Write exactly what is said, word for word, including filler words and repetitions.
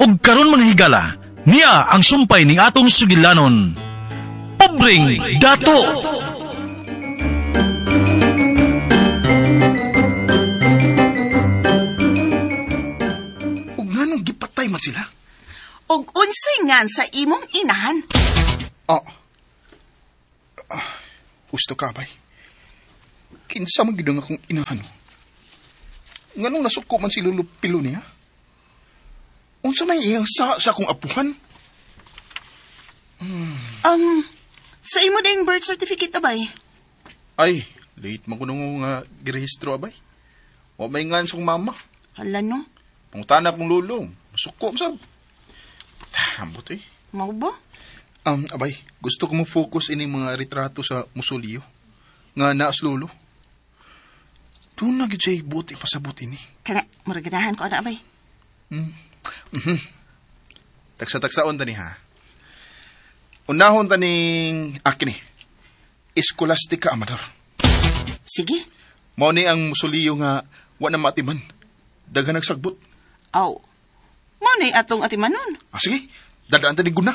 Ug karon mga higala, niya ang sumpay ning atong sugilanon. Pobreng Dato! Ug nganong gipatay man sila? Og unsay ngan sa imong inahan? Ah. Ah, gusto ka, bay. Kinsa man gid ang akong inahan. Nganong nasuko man si Lolo Pilo niya? Unsa may iyang sa sa akong apuhan? Um, sa imo ding birth certificate, abay. Ay, late man kuno nga girehistro, abay. Wa may ngan sa akong mama. Hala no, Pangutana akong lolo. Masuko sab. Ambot eh. mao ba? Um, abay, gusto ko mo focus ini mga retrato sa musoleo nga naas lolo. Doon na gid siya buti pasabot ini. Kana, murag ganahan ko ana, abay. Mm. Tagsa-tagsaon ta ni ha. Unahon ta ning akin ni. Escolastica Amador. Sige. Mao ni ang musoleo nga wa na maatiman. Daghan nagsagbot. Aw. Mao ni atong atimanon. Ah, sige, dadaan ta ni guna.